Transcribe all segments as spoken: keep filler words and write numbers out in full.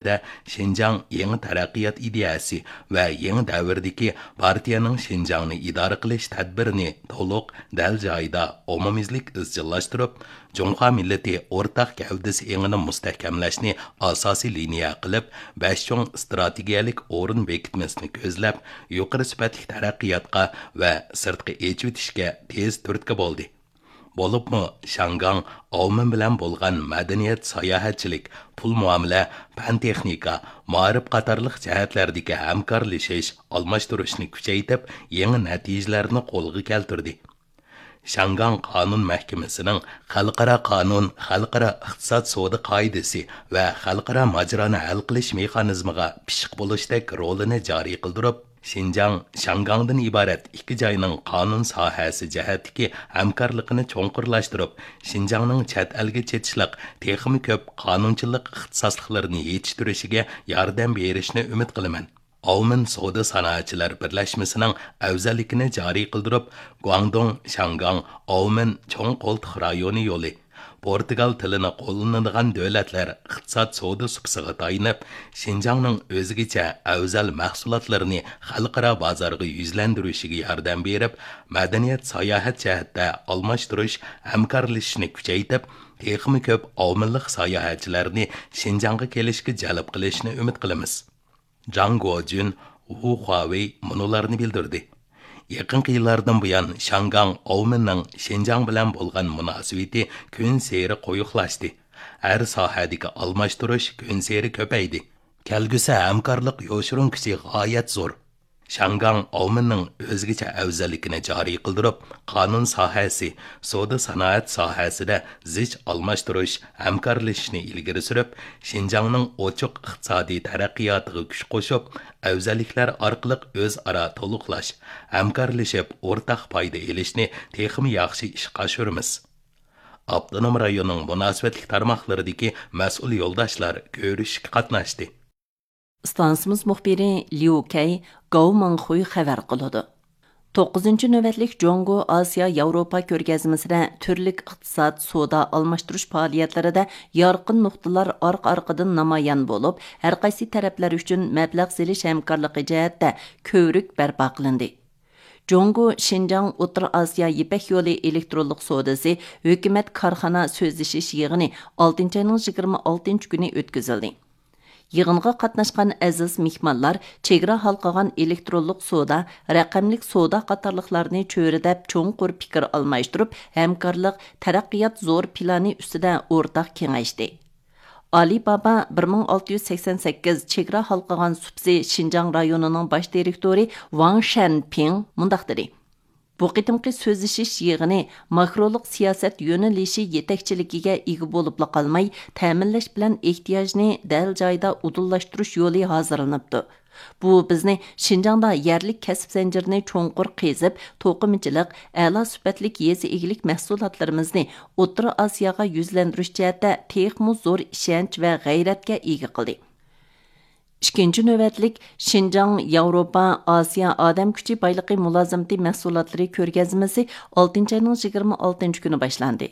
شىنجاڭ يېڭى تەرەققىيات ئىدىيەسى ۋە يېڭى دەۋردىكى پارتىيەنىڭ شىنجاڭنى ئىدارە قىلىش تەدبىرىنى تولۇق، دەل جايىدا، ئومۇميۈزلۈك ئىزچىللاشتۇرۇپ، جۇڭخۇا مىللىتى ئورتاق گەۋدىسى ئېڭىنى مۇستەھكەملەشنى ئاساسىي لىنىيە قىلىپ، بەش چوڭ ئىستراتېگىيەلىك ئورۇن بېكىتمىسىنى كۆزلەپ، يۇقىرى سۈپەتلىك تەرەققىياتقا ۋە سىرتقا ئېچىۋېتىشكە تېز تۈرتكە بولدى. بولۇپمۇ شياڭگاڭ ئاۋمېن بىلەن بولغان مەدەنىيەت، ساياھەتچىلىك، پۇل مۇئامىلە، پەن تېخنىكا، مائارىپ قاتارلىق جەھەتلەردىكى ھەمكارلىشىش، ئالماشتۇرۇشنى كۈچەيتىپ، يېڭى نەتىجىلەرنى قولغا كەلتۈردى. شياڭگاڭ قانۇن مەھكىمىسىنىڭ خەلقئارا قانۇن، خەلقئارا ئىقتىساد سودا قائىدىسى ۋە خەلقئارا ماجىرانى ھەل قىلىش مېخانىزمىغا پىششىق بولۇشتەك رولىنى جارى قىلدۇرۇپ، شىنجاڭ شياڭگاڭدىن ئىبارەت ئىككى جاينىڭ قانۇن ساھەسى جەھەتتىكى ھەمكارلىقىنى چوڭقۇرلاشتۇرۇپ، شىنجاڭنىڭ چەت ئەلگە چېتىشلىق تېخىمۇ كۆپ قانۇنچىلىق ئىختىساسلىقلىرىنى يېتىشتۈرۈشىگە ياردەم بېرىشىنى ئۈمىد قىلىمەن. ئاۋمېن سودا سانائەتچىلەر بىرلەشمىسىنىڭ ئەۋزەللىكىنى جارى قىلدۇرۇپ، گۇاڭدۇڭ شياڭگاڭ ئاۋمېن چوڭ قولتۇق رايونى يولى، پورتۇگال تىلىنى قوللىنىدىغان دۆلەتلەر ئىقتىساد سودا سۇپىسىغا تايىنىپ، شىنجاڭنىڭ ئۆزگىچە ئەۋزەل مەھسۇلاتلىرىنى خەلقئارا بازارغا يۈزلەندۈرۈشىگە ياردەم بېرىپ، مەدەنىيەت، ساياھەت جەھەتتە ئالماشتۇرۇش، ھەمكارلىشىشنى كۈچەيتىپ، تېخىمۇ كۆپ ئاۋمېنلىق ساياھەتچىلەرنى شىنجاڭغا كېلىشكە جەلپ قىلىشنى ئۈمىد قىلىمىز. جاڭ گوجۈن، ۋۇ خۇاۋېي مۇنۇلارنى بىلدۈردى. يېقىنقى يىللاردىن بۇيان، شياڭگاڭ ئاۋمېننىڭ شىنجاڭ بىلەن بولغان مۇناسىۋىتى كۈنسېرى قويۇقلاشتى. ھەر ساھەدىكى ئالماشتۇرۇش كۈنسېرى كۆپەيدى. كەلگۈسى ھەمكارلىق يوشۇرۇن كۈچى غايەت زور. شياڭگاڭ ئاۋمېننىڭ ئۆزگىچە ئەۋزەللىكىنى جارى قىلدۇرۇپ، قانۇن ساھەسى، سودا سانائەت ساھەسىدە زىچ ئالماشتۇرۇش، ھەمكارلىشىشنى ئىلگىرى سۈرۈپ، شىنجاڭنىڭ ئوچۇق ئىقتىسادىي تەرەققىياتىغا كۈچ قوشۇپ، ئەۋزەللىكلەر ئارقىلىق ئۆزئارا تولۇقلاش، ھەمكارلىشىپ ئورتاق پايدا ئېلىشنى تېخىمۇ ياخشى ئىشقا ئاشۇرىمىز. ئاپتونوم رايوننىڭ مۇناسىۋەتلىك تارماقلىرىدىكى مەسئۇل يولداشلار كۆرۈشۈشكە قاتناشتى. ئىستانسىمىز مۇخبىرى ليۇ كەي، گاۋ مىڭخۇي خەۋەر قىلىدۇ. توققۇزىنچى نۆۋەتلىك جۇڭگو ئاسىيا ياۋروپا كۆرگەزمىسىدە تۈرلۈك ئىقتىساد، سودا ئالماشتۇرۇش پائالىيەتلىرىدە يارقىن نۇقتىلار ئارقا-ئارقىدىن نامايان بولۇپ، ھەرقايسى تەرەپلەر ئۈچۈن مەبلەغ سېلىش ھەمكارلىقى جەھەتتە كۆۋرۈك بەرپا قىلىندى. جۇڭگو شىنجاڭ ئوتتۇرا ئاسىيا يىپەك يولى ئېلېكترونلۇق سودىسى ھۆكۈمەت كارخانا سۆزلىشىش يىغىنى ئالتىنچى ئاينىڭ يىگىرمە ئالتىنچى كۈنى ئۆتكۈزۈلدى. يىغىنغا قاتناشقان ئەزىز مېھمانلار چېگرا ھالقىغان ئېلېكترونلۇق سودا، رەقەملىك سودا قاتارلىقلارنى چۆرىدەپ چوڭقۇر پىكىر ئالماشتۇرۇپ، ھەمكارلىق، تەرەققىيات زور پىلانى ئۈستىدە ئورتاق كېڭەشتى. ئالىبابا بىر مىڭ ئالتە يۈز سەكسەن سەككىز چېگرا ھالقىغان سۇپىسى شىنجاڭ رايونىنىڭ باش دىرېكتورى ۋاڭ شەنپىڭ مۇنداق دېدى. بۇ قېتىمقى سۆزلىشىش يىغىنى ماكرولۇق سىياسەت يۆنىلىشى يېتەكچىلىكىگە ئىگە بولۇپلا قالماي، تەمىنلەش بىلەن ئېھتىياجنى دەل جايىدا ئۇدۇللاشتۇرۇش يولى ھازىرلىنىپتۇ. بۇ بىزنى شىنجاڭدا يەرلىك كەسىپ زەنجىرىنى چوڭقۇر قېزىپ، توقۇمىچىلىق، ئەلا سۈپەتلىك يېزا ئىگىلىك مەھسۇلاتلىرىمىزنى ئوتتۇرا ئاسىياغا يۈزلەندۈرۈش جەھەتتە تېخىمۇ زور ئىشەنچ ۋە غەيرەتكە ئىگە قىلدى. ئىككىنچى نۆۋەتلىك شىنجاڭ ياۋروپا ئاسىيا ئادەم كۈچى بايلىقى مۇلازىمىتى مەھسۇلاتلىرى كۆرگەزمىسى ئالتىنچى ئاينىڭ يىگىرمە ئالتىنچى كۈنى باشلاندى.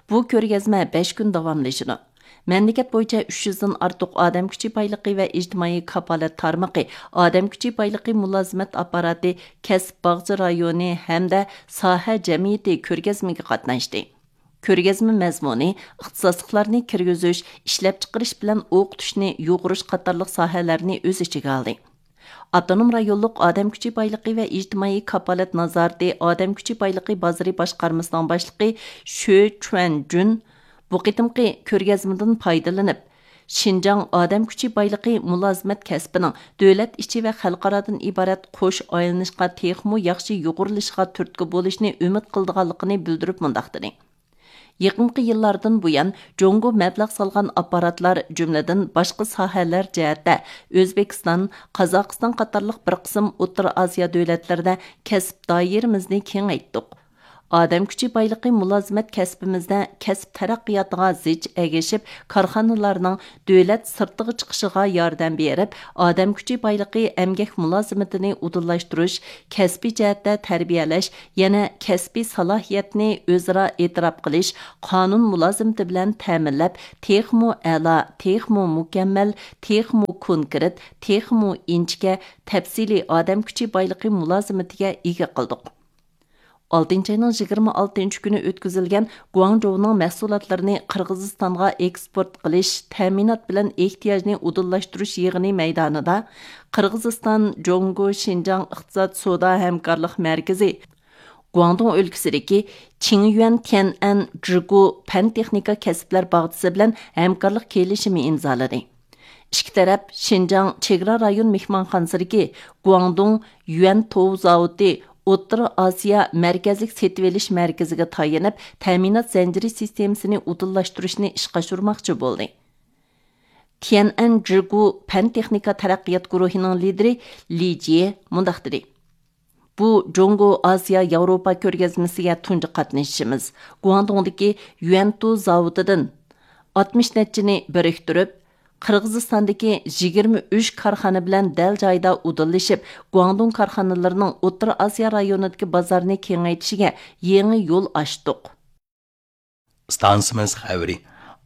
بۇ كۆرگەزمە بەش كۈن داۋاملىشىدۇ. مەملىكەت بويىچە ئۈچ يۈزدىن ئارتۇق ئادەم كۈچى بايلىقى ۋە ئىجتىمائىي كاپالەت تارمىقى، ئادەم كۈچى بايلىقى مۇلازىمەت ئاپپاراتى، كەسىپ باغچە رايونى ھەمدە ساھە جەمئىيىتى كۆرگەزمىگە قاتناشتى. كۆرگەزمە مەزمۇنى ئىختىساسلىقلارنى كىرگۈزۈش، ئىشلەپچىقىرىش بىلەن ئوقۇتۇشنى يۇغۇرۇش قاتارلىق ساھەلەرنى ئۆز ئىچىگە ئالدى. ئاپتونوم رايونلۇق ئادەم كۈچى بايلىقى ۋە ئىجتىمائىي كاپالەت نازارىتى ئادەم كۈچى بايلىقى بازىرى باشقارمىسىنىڭ باشلىقى شۆ چۈەنجۈن بۇ قېتىمقى كۆرگەزمىدىن پايدىلىنىپ، شىنجاڭ ئادەم كۈچى بايلىقى مۇلازىمەت كەسپىنىڭ دۆلەت ئىچى ۋە خەلقئارادىن ئىبارەت قوش ئايلىنىشقا تېخىمۇ ياخشى يۇغۇرۇلۇشىغا تۈرتكە بولۇشنى ئۈمىد قىلىدىغانلىقىنى بىلدۈرۈپ مۇنداق دېدى. يېقىنقى يىللاردىن بۇيان، جۇڭگو مەبلەغ سالغان ئاپپاراتلار، جۈملىدىن باشقا ساھەلەر جەھەتتە ئۆزبېكىستان، قازاقىستان قاتارلىق بىر قىسىم ئوتتۇرا ئاسىيا دۆلەتلىرىدە كەسىپ دائىرىمىزنى كېڭەيتتۇق. ئادەم كۈچى بايلىقى مۇلازىمەت كەسپىمىزدە كەسىپ تەرەققىياتىغا زىچ ئەگىشىپ، كارخانىلارنىڭ دۆلەت سىرتىغا چىقىشىغا ياردەم بېرىپ، ئادەم كۈچى بايلىقى ئەمگەك مۇلازىمىتىنى ئۇدۇللاشتۇرۇش، كەسپىي جەھەتتە تەربىيەلەش، يەنە كەسپىي سالاھىيەتنى ئۆزئارا ئېتىراپ قىلىش، قانۇن مۇلازىمىتى بىلەن تەمىنلەپ، تېخىمۇ ئەلا، تېخىمۇ مۇكەممەل، تېخىمۇ كونكرېت، تېخىمۇ ئىنچىكە، تەپسىلىي ئادەم كۈچى بايلىقى مۇلازىمىتىگە ئىگە قىلدۇق. ئالتىنچى ئاينىڭ يىگىرمە ئالتىنچى كۈنى ئۆتكۈزۈلگەن گۇاڭجوۋنىڭ مەھسۇلاتلىرىنى قىرغىزىستانغا ئېكسپورت قىلىش، تەمىنات بىلەن ئېھتىياجنى ئۇدۇللاشتۇرۇش يىغىنى مەيدانىدا قىرغىزىستان جۇڭگو شىنجاڭ ئىقتىساد سودا ھەمكارلىق مەركىزى گۇاڭدۇڭ ئۆلكىسىدىكى چىڭيۈەن تيەنئەن جىگۇ پەن تېخنىكا كەسىپلەر باغچىسى بىلەن ھەمكارلىق كېلىشىمى ئىمزالىدى. ئىككى تەرەپ شىنجاڭ چېگرا رايون مېھمانخانىسىدىكى گۇاڭدۇڭ يۈەنتوۋ زاۋۇتى ئوتتۇرا ئاسىيا مەركەزلىك سېتىۋېلىش مەركىزىگە تايىنىپ، تەمىنات زەنجىرى سىستېمىسىنى ئۇدۇللاشتۇرۇشنى ئىشقا ئاشۇرماقچى بولدى. تيەنئەن جىگۇ پەن تېخنىكا تەرەققىيات گۇرۇھىنىڭ لىدىرى لى جيې مۇنداق دېدى: بۇ جۇڭگو ئاسىيا ياۋروپا كۆرگەزمىسىگە تۇنجى قاتنىشىشىمىز. گۇاڭدۇڭدىكى يۈەنتۇ زاۋۇتىدىن ئاتمىش نەچچىنى بىرىكتۈرۈپ، قىرغىزىستاندىكى يىگىرمە ئۈچ كارخانا بىلەن دەل جايىدا ئۇدۇللىشىپ، گۇاڭدۇڭ كارخانىلىرىنىڭ ئوتتۇرا ئاسىيا رايونىدىكى بازارنى كېڭەيتىشىگە يېڭى يول ئاچتۇق. ئىستانسىمىز خەۋىرى.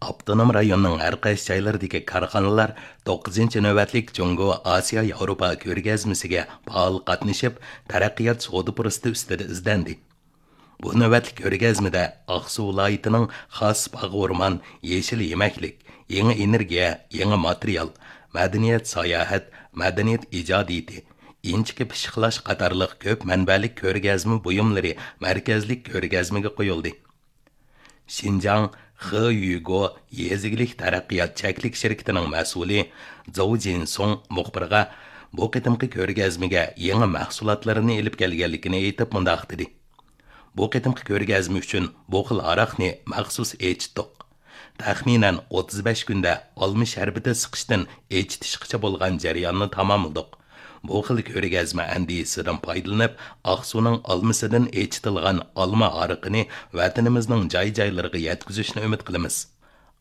ئاپتونوم رايوننىڭ ھەر قايسى جايلىرىدىكى كارخانىلار توققۇزىنچى نۆۋەتلىك جۇڭگو ئاسىيا ياۋروپا كۆرگەزمىسىگە پائال قاتنىشىپ، تەرەققىيات سودا پۇرسىتى ئۈستىدە ئىزدەندى. بۇ نۆۋەتلىك كۆرگەزمىدە ئاقسۇ ۋىلايىتىنىڭ خاس باغ ئورمان، يېشىل يېمەكلىك، يېڭى ئېنېرگىيە، يېڭى ماتېرىيال، مەدەنىيەت ساياھەت، مەدەنىيەت ئىجادىيىتى، ئىنچىكە پىششىقلاش قاتارلىق كۆپ مەنبەلىك كۆرگەزمە بۇيۇملىرى مەركەزلىك كۆرگەزمىگە قويۇلدى. شىنجاڭ خېيۈگو يېزا ئىگىلىك تەرەققىيات چەكلىك شىركىتىنىڭ مەسئۇلى زوۋ جىنسۇڭ مۇخبىرغا بۇ قېتىمقى كۆرگەزمىگە يېڭى مەھسۇلاتلىرىنى ئېلىپ كەلگەنلىكىنى ئېيتىپ مۇنداق دېدى: بۇ قېتىمقى كۆرگەزمە ئۈچۈن بۇ خىل ھاراقنى مەخسۇس ئېچىتتۇق. تەخمىنەن ئوتتۇز بەش كۈندە ئالما شەربىتى سىقىشتىن ئېچىتىشقىچە بولغان جەرياننى تاماملىدۇق. بۇ خىل كۆرگەزمە ئەندىزىسىدىن پايدىلىنىپ، ئاقسۇنىڭ ئالمىسىدىن ئېچىتىلغان ئالما ھارىقىنى ۋەتىنىمىزنىڭ جاي-جايلىرىغا يەتكۈزۈشنى ئۈمىد قىلىمىز.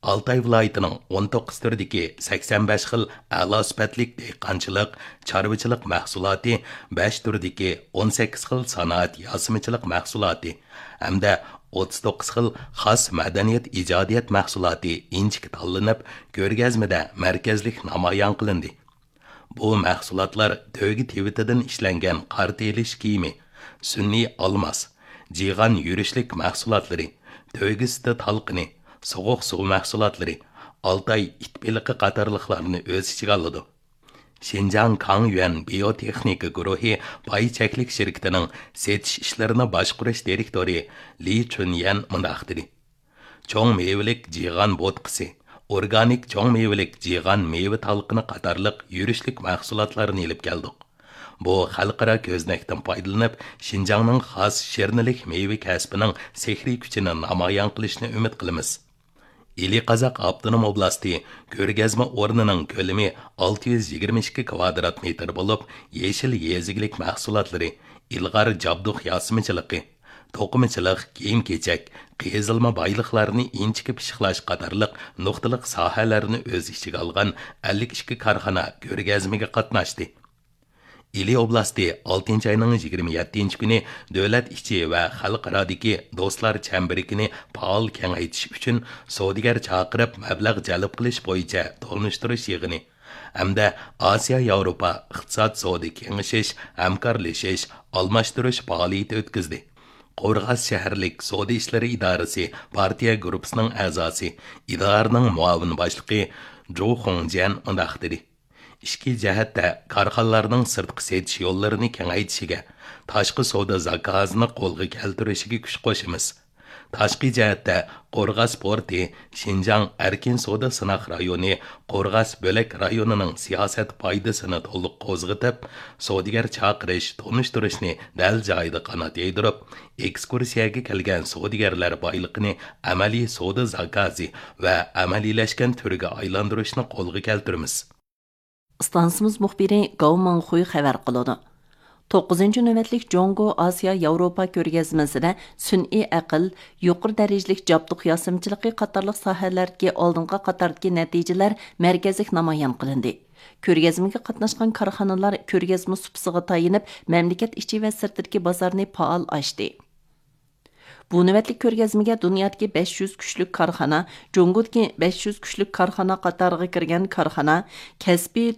ئالتاي ۋىلايىتىنىڭ ئون توققۇز تۈردىكى سەكسەن بەش خىل ئەلا سۈپەتلىك دېھقانچىلىق، چارۋىچىلىق مەھسۇلاتى، بەش تۈردىكى ئون سەككىز خىل سانائەت ياسىمىچىلىق مەھسۇلاتى ھەمدە ئوتتۇز توققۇز خىل خاس مەدەنىيەت ئىجادىيەت مەھسۇلاتى ئىنچىكە تاللىنىپ، كۆرگەزمىدە مەركەزلىك نامايان قىلىندى. بۇ مەھسۇلاتلار تۆگە تىۋىتىدىن ئىشلەنگەن قارتا ئېلىش كىيىمى، سۈنئىي ئالماس، جىغان يۈرۈشلۈك مەھسۇلاتلىرى، تۆگە سۈتى تالقىنى، سوغۇق سۇ مەھسۇلاتلىرى، ئالتاي ئىت بېلىقى قاتارلىقلارنى ئۆز ئىچىگە ئالىدۇ. شىنجاڭ كاڭيۈەن بىيوتېخنىكا گۇرۇھى پاي چەكلىك شىركىتىنىڭ سېتىش ئىشلىرىنى باشقۇرۇش دىرېكتورى لى چۈنيەن مۇنداق دېدى: چوڭ مېۋىلىك جىغان بوتقىسى، ئورگانىك چوڭ مېۋىلىك جىغان مېۋە تالقىنى قاتارلىق يۈرۈشلۈك مەھسۇلاتلارنى ئېلىپ كەلدۇق. بۇ خەلقئارا كۆزنەكتىن پايدىلىنىپ، شىنجاڭنىڭ خاس شىرنىلىك مېۋە كەسپىنىڭ سېھرىي كۈچىنى نامايان قىلىشنى ئۈمىد قىلىمىز. ئىلى قازاق ئاپتونوم ئوبلاستى كۆرگەزمە ئورنىنىڭ كۆلىمى ئالتە يۈز يىگىرمە ئىككى كۋادرات مېتىر بولۇپ، يېشىل يېزا ئىگىلىك مەھسۇلاتلىرى، ئىلغار جابدۇق ياسىمىچىلىقى، توقۇمىچىلىق، كىيىم-كېچەك، قېزىلما بايلىقلارنى ئىنچىكە پىششىقلاش قاتارلىق نۇقتىلىق ساھەلەرنى ئۆز ئىچىگە ئالغان ئەللىك ئىككى كارخانا كۆرگەزمىگە قاتناشتى. ئىلى ئوبلاستى ئالتىنچى ئاينىڭ يىگىرمە يەتتىنچى كۈنى دۆلەت ئىچى ۋە خەلقئارادىكى دوستلار چەمبىرىكىنى پائال كېڭەيتىش ئۈچۈن سودىگەر چاقىرىپ مەبلەغ جەلپ قىلىش بويىچە تونۇشتۇرۇش يىغىنى ھەمدە ئاسىيا ياۋروپا ئىقتىساد سودا كېڭىشىش، ھەمكارلىشىش، ئالماشتۇرۇش پائالىيىتى ئۆتكۈزدى. قورغاس شەھەرلىك سودا ئىشلىرى ئىدارىسى پارتىيە گۇرۇپپىسىنىڭ ئەزاسى، ئىدارىنىڭ مۇئاۋىن باشلىقى جۇ خۇڭجيەن مۇنداق دېدى: ئىچكى جەھەتتە كارخانىلارنىڭ سىرتقا سېتىش يوللىرىنى كېڭەيتىشىگە، تاشقى سودا زاكازىنى قولغا كەلتۈرۈشىگە كۈچ قوشىمىز. تاشقى جەھەتتە قورغاس پورتى، شىنجاڭ ئەركىن سودا سىناق رايونى، قورغاس بۆلەك رايونىنىڭ سىياسەت پايدىسىنى تولۇق قوزغىتىپ، سودىگەر چاقىرىش، تونۇشتۇرۇشنى دەل جايىدا قانات يايدۇرۇپ، ئېكسكۇرسىيەگە كەلگەن سودىگەرلەر بايلىقىنى ئەمەلىي سودا زاكازى ۋە ئەمەلىيلەشكەن تۈرگە ئايلاندۇرۇشنى قولغا كەلتۈرىمىز. ئىستانسىمىز مۇخبىرى گاۋ ماڭخۇي خەۋەر قىلىدۇ. توققۇزىنچى نۆۋەتلىك جۇڭگو ئاسىيا ياۋروپا كۆرگەزمىسىدە سۈنئىي ئەقىل، يۇقىرى دەرىجىلىك جابدۇق ياسىمىچىلىقى قاتارلىق ساھەلەردىكى ئالدىنقى قاتاردىكى نەتىجىلەر مەركەزلىك نامايان قىلىندى. كۆرگەزمىگە قاتناشقان كارخانىلار كۆرگەزمە سۇپىسىغا تايىنىپ، مەملىكەت ئىچى ۋە سىرتىدىكى بازارنى پائال ئاچتى. بۇ نۆۋەتلىك كۆرگەزمىگە دۇنيادىكى بەش يۈز كۈچلۈك كارخانا، جۇڭگودىكى بەش يۈز كۈچلۈك كارخانا قاتارىغا كىرگەن كارخانا، كەسپىي